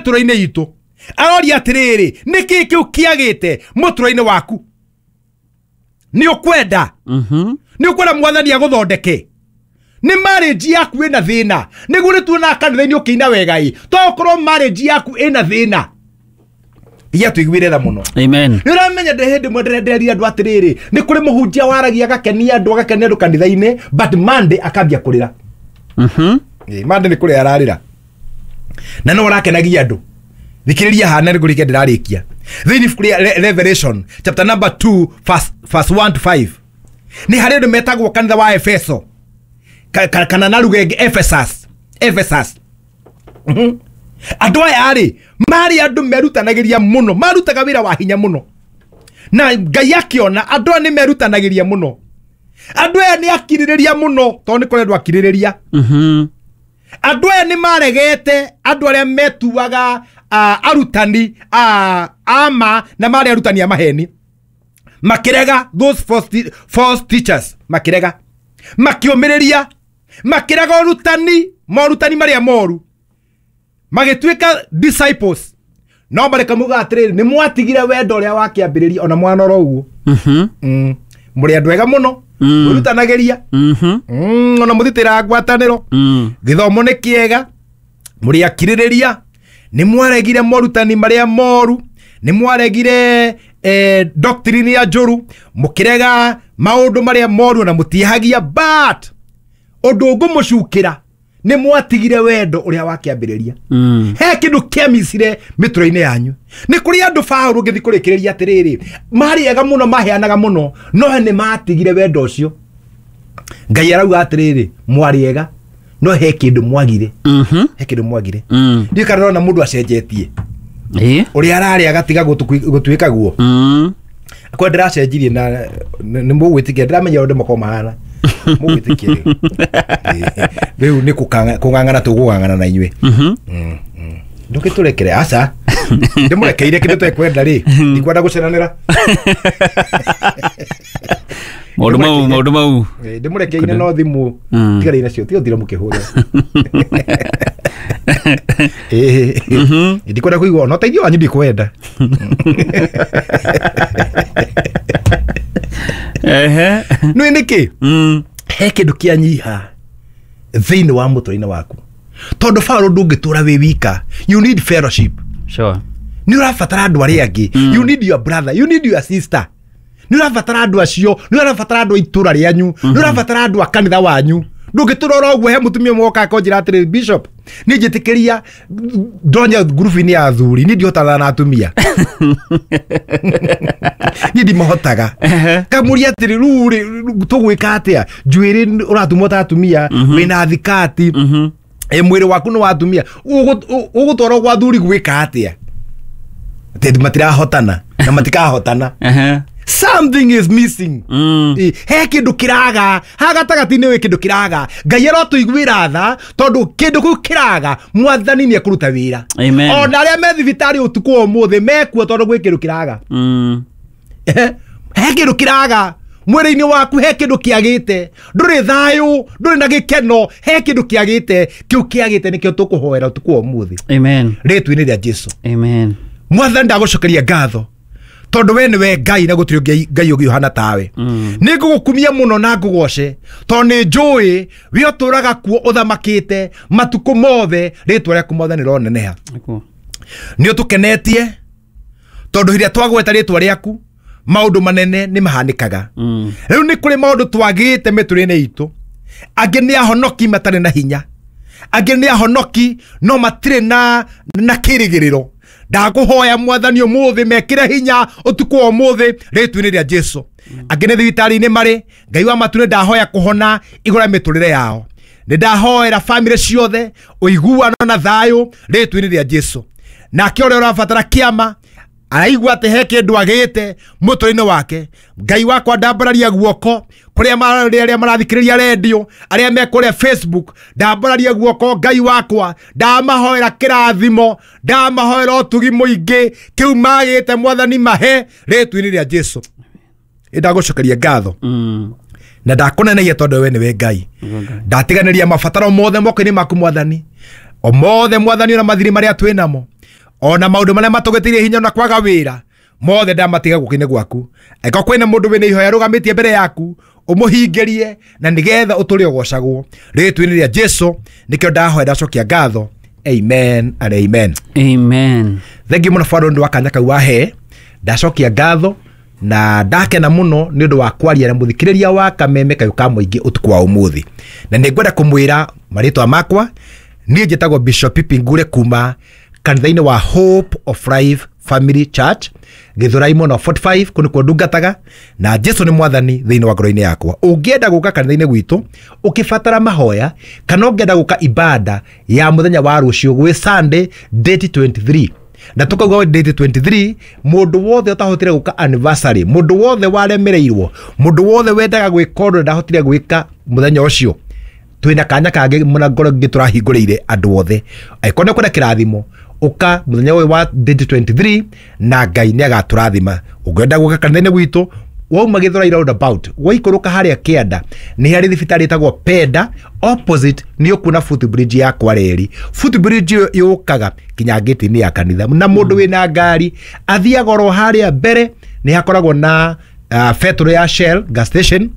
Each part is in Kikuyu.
Mĩtũrĩre-inĩ itũ aroria atĩrĩrĩ, nĩkĩ kĩu kĩagĩte mũtũrĩre-inĩ waku? Nĩ ũkwenda nĩ ũkwenda Mwathani agũthondeke? Nĩ marriage yaku ĩna thĩna? Nĩguo nĩ tuonaga kanitha-inĩ ũkĩina wega ĩ, to ũkorwo marriage yaku ĩna thĩna. Iria tũiguĩre tha mũno. Amen. Nĩ ũramenya ndĩ hĩndĩ ĩmwe ndĩrenderia andũ atĩrĩrĩ, nĩ kũrĩ mũhunjia waragia agakenia andũ, agakenia andũ kanitha-inĩ, but Monday akambia kũrĩra. Ĩ, Monday nĩ kũrĩra ararĩra na no ũrakenagia andũ. Thikĩrĩria hana nĩ kũrĩkia ndĩrarĩkia. Thĩinĩ ibuku rĩa Revelation chapter number 2 verse 1 to 5, nĩ harĩ andũ metagwo kanitha wa Efeso, kana na lugha ĩngĩ Ephesus. Ephesus. Andũ aya rĩ, marĩ andũ merutanagĩria mũno, marutaga wĩra wa hinya mũno, na Ngai akĩona andũ aya nĩ merutanagĩria mũno, andũ aya nĩ akirĩrĩria mũno, tondũ nĩ kũrĩ andũ akirĩrĩria. Andũ aya nĩ maregete andũ arĩa metuaga arutani ama na marĩ arutani a maheni, makĩrega those false teachers, makĩrega, makĩũmĩrĩria, makĩrega ũrutani, morutani marĩa moru, magĩtuĩka disciples. No mareka muga atĩrĩrĩ, nĩ mwatigire wendo ũrĩa wakĩambĩrĩria ona mwana oro ũguo. Mũrĩ andũ ega mũno, mwĩrutanagĩria, ona mũthitĩraga ngwatanĩro, gĩthomo nĩ kĩega, mũrĩ akirĩrĩria, nĩ mwaregire morutani marĩa moru, nĩ mwaregire doctrine ya njũru, mũkĩrega maũndũ marĩa moru na mũtiehagia, but ũndũ ngũmũcukĩra, nĩ mwatigire wendo ũrĩa wakĩambĩrĩria. He kĩndũ kĩamicire mĩtũrĩre-inĩ yanyu. Nĩ kũrĩ andũ Paũlũ ngĩthiĩ kũrĩkĩrĩria atĩrĩrĩ, marĩ ega mũno, maheanaga mũno, no nĩ matigire wendo ũcio. Ngai arauga atĩrĩrĩ, mwarĩ ega, no he kĩndũ mwagire. He kĩndũ mwagire. Ndiũĩ kana ũrona mũndũ acenjetie ũrĩa ararĩ agatiga gũtuĩka guo. Kwa ndĩracenjirie na nĩ mũgwĩtĩkia, ndĩramenya ũndũ makorwo mahana mũgwĩtĩkia rĩu. Rĩu nĩ kũng'ang'ana tũgũng'ang'ana na inyuĩ. Ndũgĩtũrekere, aca ndĩmũrekeire kĩndũ tekwenda rĩ, ndikwenda gũceranĩra. Maũndũ mau, maũndũ mau. Ndĩmũrekeire no thimũ tigarei nacio, tiga ũthire mũkĩhũra. Ndikwenda kũigua ona ũteithio wanyu, ndikwenda. Nĩ nĩkĩ? He kĩndũ kĩanyiha thĩinĩ wa mũtũrĩre waku, tondũ Paũlũ ndũngĩtũra wĩ wika, you need fellowship. Nĩ ũrabatara andũ arĩa angĩ. You need your brother, you need your sister. Nĩ ũrabatara andũ acio, nĩ ũrabatara andũ a itũra rĩanyu, nĩ ũrabatara andũ a kanitha wanyu. Ndũngĩtũra oro ũguo. He mũtumia ũmwe woka akonjĩra atĩrĩ, "Bishop, niĩ njĩtĩkĩria ndonya ngurubu-inĩ ya athuri, niĩ ndihotaga na atumia, niĩ ndimahotaga." Kamũria atĩrĩ, rĩu rĩ tũgwĩka atĩa? Njuĩrĩ ũratumwo ta atumia, wĩna thikati, mwĩrĩ waku nĩ wa atumia, ũgũtwarwo gwa athuri gwĩka atĩa? Atĩ matirahotana na matikahotana. Something is missing. He kĩndũ kĩraga ha gatagatĩ-inĩ, wĩ kĩndũ kĩraga. Ngai arotũiguĩra tha, tondũ kĩndũ kĩu kĩraga, Mwathani nĩ ekũruta wĩra. Amen. Ona arĩa me thibitarĩ ũtukũ wa ũmũthĩ mekuo tondũ gwĩ kĩndũ kĩraga. He kĩndũ kĩraga mwĩrĩ-inĩ waku, he kĩndũ kĩagĩte, ndũrĩ thayũ, ndũrĩ na gĩkeno, he kĩndũ kĩagĩte. Kĩu kĩagĩte nĩkĩo tũkũhoera ũtukũ wa ũmũthĩ. Amen. Rĩtwa-inĩ rĩa Jesu. Amen. Mwathani, ndagũcokeria ngatho tondũ we nĩwe Ngai na gũtirĩ ũngĩ Ngai ũngĩ ũhana tawe. Nĩ ngũgũkumia mũno na ngũgoce, tondũ nĩ njũĩ we ũtũraga kuo ũthamakĩte matukũ mothe. Rĩtwa rĩaku, Mwathani, rĩroneneha. Nĩkuo. Nĩ ũtũkenetie, tondũ hĩrĩa twagweta rĩtwa rĩaku, maũndũ manene nĩ mahanĩkaga. Rĩu nĩ kũrĩ maũndũ twagĩte mĩtũrĩre itũ. Angĩ nĩ ahonoki matarĩ na hinya, angĩ nĩ ahonoki no matirĩ na kĩrĩgĩrĩro. Ndakũhoya, Mwathani, ũmũthĩ mekĩre hinya ũtukũ wa ũmũthĩ rĩtwa-inĩ rĩa Jesu. Angĩ nĩ thibitarĩ-inĩ marĩ, Ngai wa matu, nĩ ndahoya kũhona igũrũ rĩa mĩtũrĩre yao. Nĩ ndahoera bamĩrĩ ciothe ũiguano na thayũ rĩtwa-inĩ rĩa Jesu. Nake ũrĩa ũrabatara kĩama, araigua atĩ he kĩndũ agĩte mũtũrĩre-inĩ wake, Ngai wakwa, ndambararia guoko kũrĩa arĩa marathikĩrĩria redio, arĩa me kũrĩa Facebook, ndambararia guoko. Ngai wakwa, ndamahoera kĩrathimo, ndamahoera ũtugi mũingĩ. Kĩu magĩte, Mwathani, mahe rĩtwa-inĩ rĩa Jesu. Ndagũcokeria ngatho na ndakũnenegia, tondũ we nĩwe Ngai. Nĩguo Ngai. Ndatiganĩria mabataro mothe moko-inĩ maku, Mwathani, o mothe, Mwathani, ona mathirĩ marĩa twĩ namo. Ona maũndũ marĩa matũgĩtĩire hinya na kwaga wĩra mothe ndamatiga guoko-inĩ gwaku. Angĩkorwo kwĩna mũndũ wĩna ihoya arũgamĩtie mbere yaku, ũmũhingĩrie na nĩgetha ũtũre ũgocagwo rĩtwa-inĩ rĩa Jesu. Nĩkĩo ndahoya ndacokia ngatho. Amen and amen. Amen. Thengi mũno Father nĩ ũndũ wa kanya kau wahe. Ndacokia ngatho na ndakena mũno nĩ ũndũ wa kwaria na mũthikĩrĩria wa Kameme Kayũ ka Mũingĩ ũtukũ wa ũmũthĩ. Na nĩ ngwenda kũmwĩra marĩtwa makwa. Niĩ njĩtagwo Bishop Pipi Ngure kuma kanitha-inĩ wa Hope of Life Family Church, Gĩthũrai mwena wa 45, kũu nĩkuo ndungataga, na Jesu nĩ mwathani thĩinĩ wa ngoro-inĩ yakwa. Ũngĩenda gũka kanitha-inĩ gwitũ ũkĩbatara mahoya, kana ũngĩenda gũka ibada ya mũthenya wa rũciũ gwĩ Sunday date 23, na tukauga date 23, mũndũ wothe ũtahotire gũka anniversary, mũndũ wothe waremereirwo, mũndũ wothe wendaga gwĩka ũndũ ndahotire gwĩka mũthenya ũcio, twĩna kanya kangĩ mũna ngoro ngĩ tũrahingũrĩire andũ othe. Angĩkorwo nĩ ũkwenda kĩrathimo, ũka mũthenya ũyũ wa date 23 na Ngai nĩ agatũrathima. Ũngĩenda gũka kanitha-inĩ gwitũ, wauma Gĩthũrai roundabout, waikũrũka harĩa kĩanda nĩ harĩ thibitarĩ ĩtagwo Penda, opposite nĩ ũkuona footbridge ya Kwareri. Footbridge ĩyo yũkaga nginya gate-inĩ ya kanitha, na mũndũ wĩna ngari athiaga oro harĩa mbere nĩ hakoragwo na betũrũ ya Shell gas station.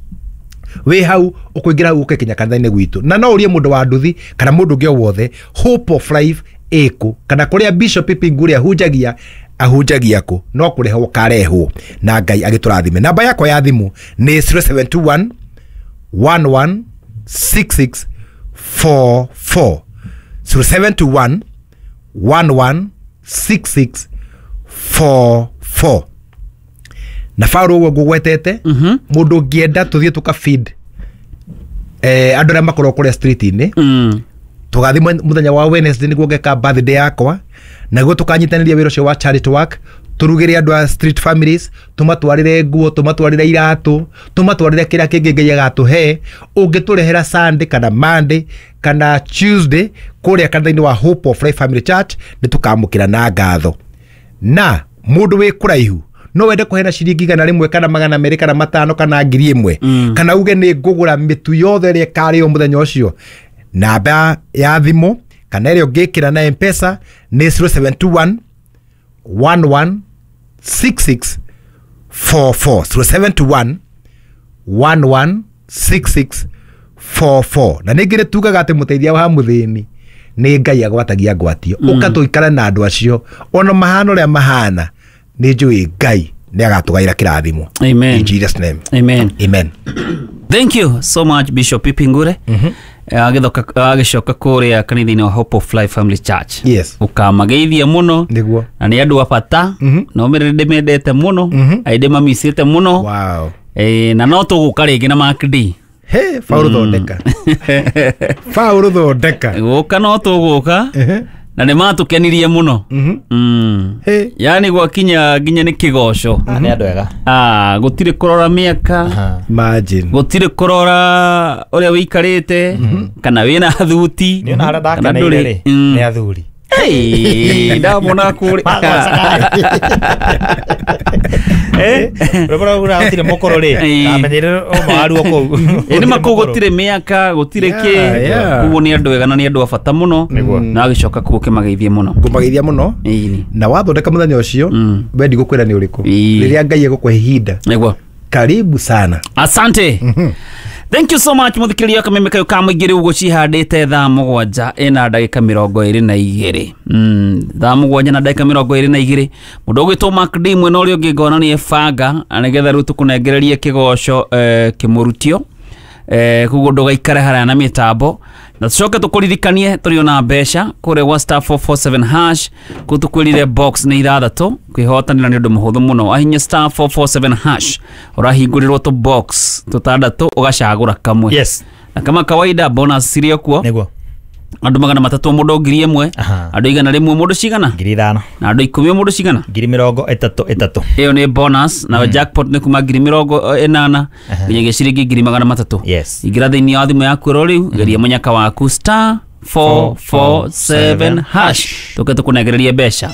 Wĩ hau ũkũingĩra hau ũke kinya kanitha-inĩ gwitũ, na no ũrie mũndũ wa nduthi kana mũndũ ũngĩ o wothe Hope of Life ĩkũ, kana kũrĩa Bishop Pipi Ngure ahunjagia ahunjagia kũ, no kũrehwo karehwo na Ngai agĩtũrathime. Namba yakwa ya thimũ nĩ 0721 1166 44, 0721 1166 44. Na Paul ũguo ngũgwetete, mũndũ ũngĩenda tũthiĩ tũka feed andũ arĩa makoragwo kũrĩa street-inĩ, tũgathiĩ mũthenya wa Wednesday nĩguo ngeka birthday yakwa, naguo tũkanyitanĩria wĩra ũcio wa charity work, tũrugĩre andũ a street families, tũmatwarĩre nguo, tũmatwarĩre iratũ, tũmatwarĩre kĩrĩa kĩngĩ Ngai agatũhe. Ũngĩtũrehera Sunday kana Monday kana Tuesday kũrĩa kanitha-inĩ wa Hope of Life Family Church, nĩ tũkamũkĩra na ngatho. Na mũndũ wĩ kũraihu no wende kũheana ciringi 100 kana 200 kana 5 kana 1000, kana uge nĩ ngũgũra mĩtu yothe ĩrĩa ĩkarĩo mũthenya ũcio, namba ya thimũ kana ĩrĩa ũngĩkĩra na M-Pesa nĩ 0721 11 66 44, 0721 11 66 44. Na ningĩ nĩ tugaga atĩ mũteithia wa mũthĩni nĩ Ngai agwatagia ngwatio. Ũka tũikare na andũ acio ona mahana ũrĩa mahana, nĩ njũĩ Ngai nĩ agatũgaĩra kĩrathimo. Amen. In Jesus name. Amen. Amen. Thank you so much Bishop Pipi Ngure. Agĩcoka kũrĩa kanitha-inĩ wa Hope of Life Family Church. Yes. Ũkamageithia mũno. Nĩguo. Na nĩ andũ a bata. Na ũmĩrĩre ndĩmendete mũno. Aindĩ mamicĩte mũno. Wow. Na no tũgũka rĩngĩ na Mark D. He, Paul thondeka. Paul thondeka. Gũka no tũgũka. Na nĩ matũkenirie mũno. He. Yani gwakinya nginya nĩ kĩgoco. Nĩ andũ ega. Gũtirĩ kũrora mĩaka. Imagine. Gũtirĩ kũrora ũrĩa wĩikarĩte kana wĩna thuti. Nĩ ona harĩa ndakeneire rĩ, nĩ athuri. Hey, ndamona kũrĩa. Rwĩmbo rũu gũtirĩ mũkũrũ rĩ, ndamenyire ũma waruo kũu. Ĩ nĩ makũu gũtirĩ mĩaka, gũtirĩ kĩ. Koguo nĩ andũ ega na nĩ andũ a bata mũno. Na agĩcoka kũu ũkĩmageithie mũno. Ngũmageithia mũno. Ĩni. Na wathondeka mũthenya ũcio, we ndigũkwĩra nĩ ũrĩkũ. Rĩrĩa Ngai egũkũhe ihinda. Nĩguo. Karibu sana. Asante. Thank you so much mũthikĩrĩria wa Kameme Kayũ ka Mũingĩ. Rĩu gũcihandĩte thaa 7 ĩna ndagĩka 22. Thaa 7 na ndagĩka 22. Mũndũ ũgwĩtwo Mark D mwena ũrĩa ũngĩ ngona nĩ ebanga nĩgetha rĩu tũkũnengererie kĩgoco kĩmũrutio. Koguo ndũgaikare haraya na mĩtambo. Na tũcoke tũkũririkanie tũrĩ ona mbeca kũrĩa gwa star 447 hash, kũu tũkwĩrire box nĩ 6, kwĩhotanĩra nĩ ũndũ mũhũthũ mũno. Ahinya star 447 hash, ũrahingũrĩrwo tũ box tũtandatũ ũgacagũra kamwe. Yes. Na kama kawaida bonus cirĩ o kuo. Nĩguo. Andũ 300 mũndũ 1000, andũ 100 mũndũ cigana? 5000. Na andũ 10 mũndũ cigana? 30,000. Ĩyo nĩ bonus. Na jackpot nĩ kuma 80,000 nginyagia ciringi 300,000. Yes. Ingĩra thĩinĩ wa thimũ yaku oro rĩu, geria mũnyaka waku star 447 hash, tũke tũkũnengererie mbeca.